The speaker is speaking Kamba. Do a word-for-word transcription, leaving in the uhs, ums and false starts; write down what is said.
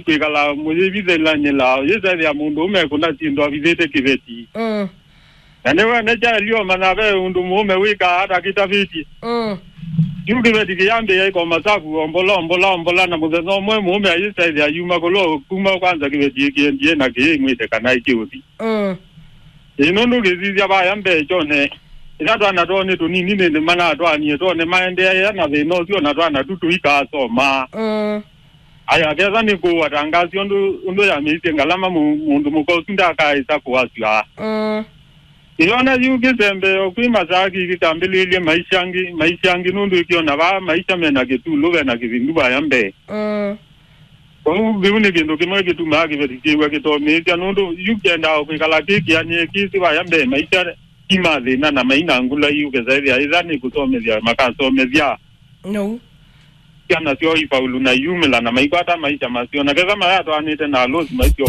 kwĩkala mũyĩvithĩlanĩla, yĩsethĩa mũndũ ũme kũna syĩndũ avithĩte kĩveti. Mm. Na nĩwene kyaelio mana ve ũndũ mũũme wĩkaa atakĩtavĩtye. Mm. Yu kĩveti kĩyambĩĩa ĩkoma savu ombola, ombola, ombola, na mũthenya ũmwe mũũme ayĩsethĩa yuma kũlo kuma kwanza kĩveti ĩkĩendie na kĩĩmwĩte kana ĩkĩũthi. Mm. Ĩ nũndũ ngĩsisya vaya mbee kyone, ĩla twana twoo nĩ tũnini nĩndĩ manatwanie twone maendeea na thĩna ũsu, ona twana tu tũikasoma. Mm. Aya, kesa nĩ kũũa tangaasi ũndũ, ũndũ yamĩisye ngalama mũ-, mũndũ mũka ũsu ndakaĩsa kũasya. Mm. Ĩyona yu kĩsembeo kwĩ masaa kĩkĩ kambĩlĩĩlye maisha angĩ, maisha angĩ nũndũ ĩkĩona vaa maisha mena kĩtulũ, vena kĩvindu vaya mbee. Mm. Kwoou vĩu nĩ kĩndũ kĩmwe kĩtumaa kĩveti kyĩw'a kĩtomĩĩsya, nũndũ yu kĩendaa o kwĩkala kĩ kĩanĩe kĩsĩ vaya mbee, maisha ti ma thĩna na maina ngula yu kĩsaĩthĩa ĩtha nĩ kũsomethya makasomethya. No. Syana syoo ifaulu na iumĩla na maikwata maisha maseo, na ketha mayatwaanĩte na alosi maseo.